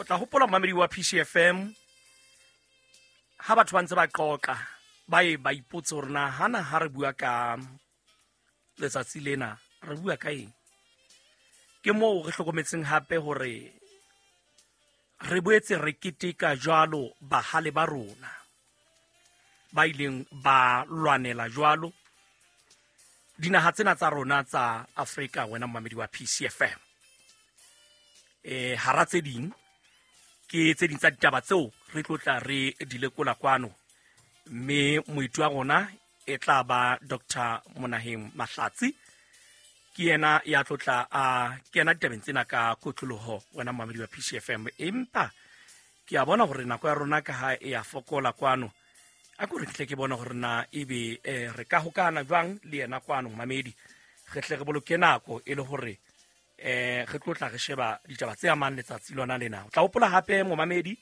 Tla hopola momamedi wa PCFM ha batho ba ntse ba qoqa ba ye ba ipotse hore na hana ha re bua ka letsatsi lena re bua ka eng. Ke moo re hlokometseng hape hore re boetse re keteka jwalo bahale ba rona ba ileng ba lwanela jwalo dinaha tsena tsa rona tsa Afrika, wena momamedi wa PCFM. Hara tse ding ke tse ding tsa ditaba tseo re tlo tla re di lekola kwano, mme moeti wa rona e tla ba Dr. Monaheng Mahlatsi. Ke yena ya tlo tla a kena ditabeng tsena ka kotloloho, wena momamedi wa PCFM. Empa ke a bona hore nako ya rona ka ha e a fokola kwano, a ko re tle ke bona hore na ebe re ka hokana jwang le yena kwano momamedi, re tle re boloke nako e le hore re tlo tla re sheba ditaba tse amang letsatsi lona lena. O tla hopola hape momamedi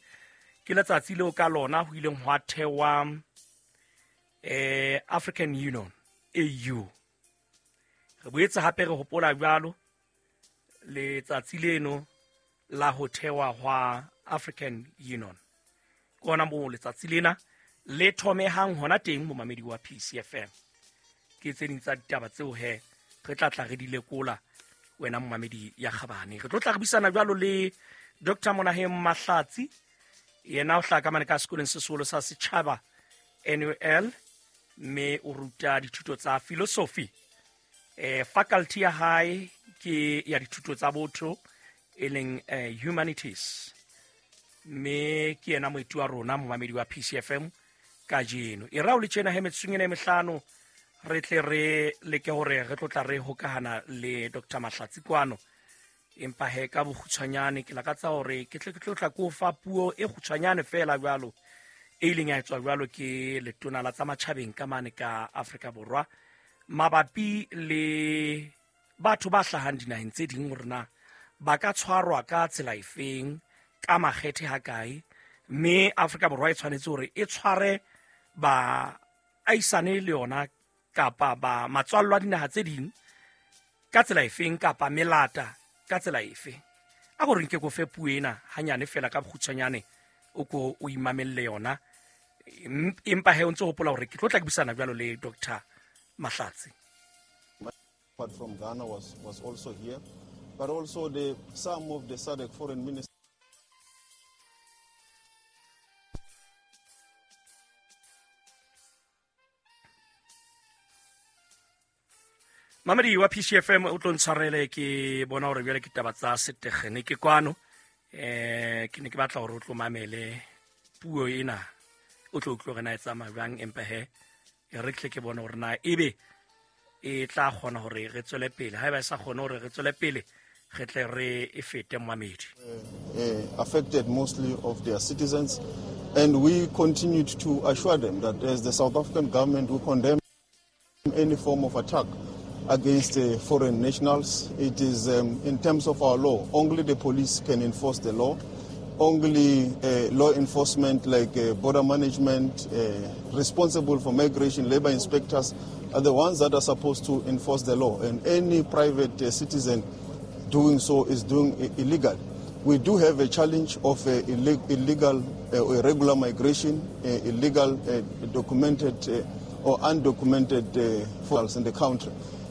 ke letsatsi leo ka lona ho ileng hwa thewa African Union AU. Re boetse hape re hopola jwalo letsatsi leno la ho thewa hwa African Union. Ke hona moo letsatsi lena le thomehang hona teng momamedi wa PCFM. Ke tse ding tsa ditaba tseo he re tla tla re di lekola wena momamedi ya kgabane. Re tlo tla re buisana jwalo le Dr. Monaheng Mahlatsi, yena o hlaha ka mane ka sekolong se seholo sa setjhaba NUL, mme o ruta dithuto tsa philosophy. Faculty ya hae ke ya dithuto tsa botho e leng humanities, mme ke yena moeti wa rona momamedi wa PCFM kajeno. E rao le tjena he metsotsong ena e mehlano re tle re leke hore re tlo tla re hokahana le Dr. Mahlatsi kwano. Empa he ka bokgutshwanyane ke lakatsa hore ke tle ke tlo tla ko fa puo e kgutshwanyane feela jwalo e ileng ya etswa jwalo ke letona la tsa matjhabeng ka mane ka Afrika Borwa mabapi le batho ba hlahang dinaheng tse ding hore na ba ka tshwarwa ka tsela efeng, ka makgethe ha kae, mme Afrika Borwa e tshwanetse hore e tshware ba aisane le yona kapa ba matswallo a dinaha tse ding ka tsela efeng kapa melata ka tsela efe. A gore nke ko fe puo ena hanyane fela ka bokgutshwanyane o ko o imamelle yona, empa he o ntse hopola hore ke tlo tla ke buisana jwalo le Dr. Mahlatsi. But from Ghana was also here, but also the some of the SADC foreign ministers. Mamedi wa PCFM o tlo ntshwarele, ke bona hore jwale ke taba tsa setekgeniki ke kwano. Ke ne ke batla hore o tlo mamele puo ena, o tlo utlwe hore na e tsamaya jwang, empa he e re tle ke bone hore na ebe e tla kgona hore re tswele pele. Haeba e sa kgone hore re tswele pele, re tle re e fete momamedi. Affected mostly of their citizens, and we continued to assure them that as the South African government we condemn any form of attack against foreign nationals. It is in terms of our law, only the police can enforce the law. Only law enforcement like border management, responsible for migration, labor inspectors are the ones that are supposed to enforce the law. And any private citizen doing so is doing illegal. We do have a challenge of illegal or irregular migration, illegal documented or undocumented foreigners in the country.